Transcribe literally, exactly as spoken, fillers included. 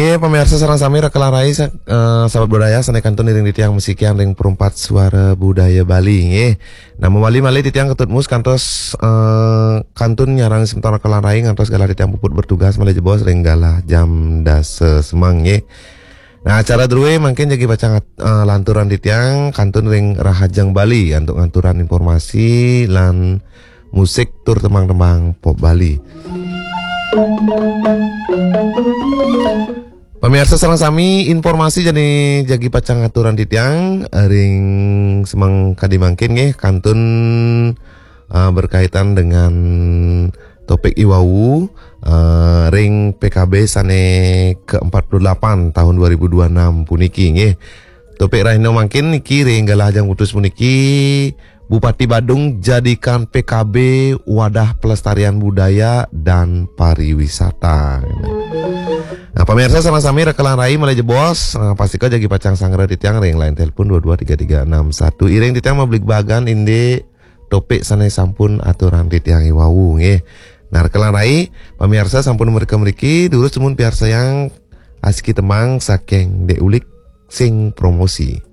Eh, pemirsa sareng sami rekelan rai sa- eh, sahabat budaya sané kantun iring titiang masikian ring perumpat suara budaya Bali nggih. Nah, mawali malih titiang Ketut Mus kantos eh, kantun nyarengin semeton rekelan rai ngantos galah titiang puput bertugas malih jebos ring galah jam dasa semeng nggih. Nah, acara drué mangkin jagi pacang eh, lanturang titiang kantun ring Rahajeng Bali antuk ngaturang informasi lan musik tur tembang-tembang pop Bali. Pemirsa sareng sami, informasi jani jagi pacang ngaturang titiang ring semeng kadi mangkin nggih kantun eh, berkaitan dengan topik iwau eh, ring P K B sané ke empat puluh delapan tahun dua ribu dua puluh enam puniki nggih. Topik rahina mangkin niki ring galah jang putus puniki, Bupati Badung jadikan P K B wadah pelestarian budaya dan pariwisata. Nah, pemirsa sareng sami rekelan rai malih jebos, nah, pastika jagi pacang sangra titiang ring line telepon dua dua tiga tiga enam satu. Iring titiang mabligbagan indik topik sané sampun aturang titiang iwau nggih. Nah, rekelan rai, pemirsa sampun mereka mriki, durus timun piarsayang asiki tembang saking Dek Ulik sing promosi.